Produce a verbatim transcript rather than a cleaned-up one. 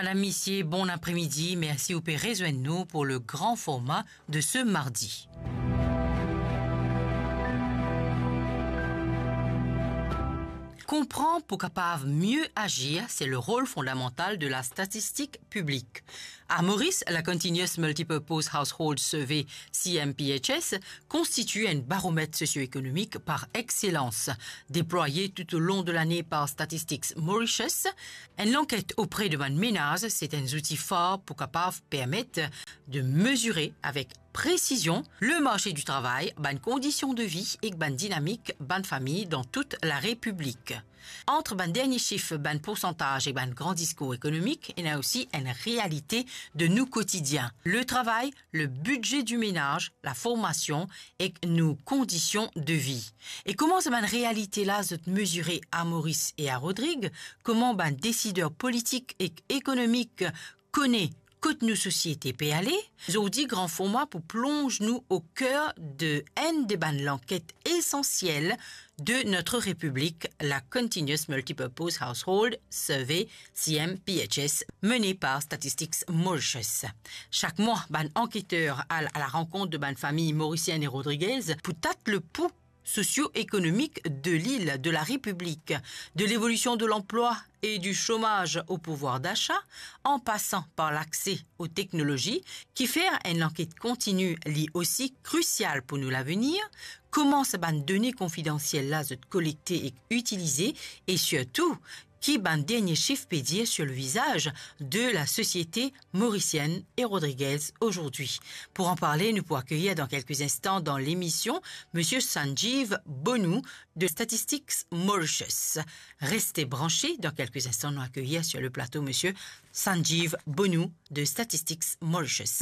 Madam, misie, bon apremidi. Mersi ou pe rezwenn nou pou le gran forma de se mardi. Konpran pou kapav mie azir, se le rol fondamantal de la statistik piblik. A Moris, la Continuous Multipurpose Household Survey, C M P H S, konstitwi enn baromet sosio-ekonomik par exselans, deplwaye toutolong de lane par Statistics Mauritius. Enn lanket opre de bann menaz, se enn zouti far pou kapav permet de mezire avek presizion le marse di travay, bann kondision de vi ek bann dinamik bann fami dan tout la Repiblik. Ant bann dernie sif, bann poursantaz ek bann gran diskour ekonomik, ena osi enn realite de nou kotidien. Le travay, le bidze di menaz, la formasion ek nou kondision de vi. E kouma sa bann realite la zot mezire a Moris e a Rodrig? Kouma bann desider politik ek ekonomik kone kot nou sosiete pe ale? Zordi, gran forma pou plonz nou o ker de enn de bann lanket esansiel de notre Repiblik, la Continuous Multipurpose Household Survey, C M P H S, mene par Statistics Mauritius. Sak mwa, bann anketer al a la rankont de bann fami morisienn e rodrigez pou tat le pou sosio-ekonomik de lil, de la Repiblik, de levolision de lanplwa e di somaz o pouvwar dasa, an pasan par lakse o teknolozi, kifer enn lanket kontini li osi krisial pou nou lavenir, kouma sa bann done konfidansiel la zot kolekte ek itilize, e sirtou, ki bann dernie sif pe dir sur le vizaz de la sosiete morisienn e rodrigez ozordi. Pou an parle, nou pou akeyir dan kelke instan dan lemision misie Sanjeev Bonu de Statistics Mauritius. Reste branche, dan kelke instan nou akeyir sur le plato misie Sanjeev Bonu de Statistics Mauritius.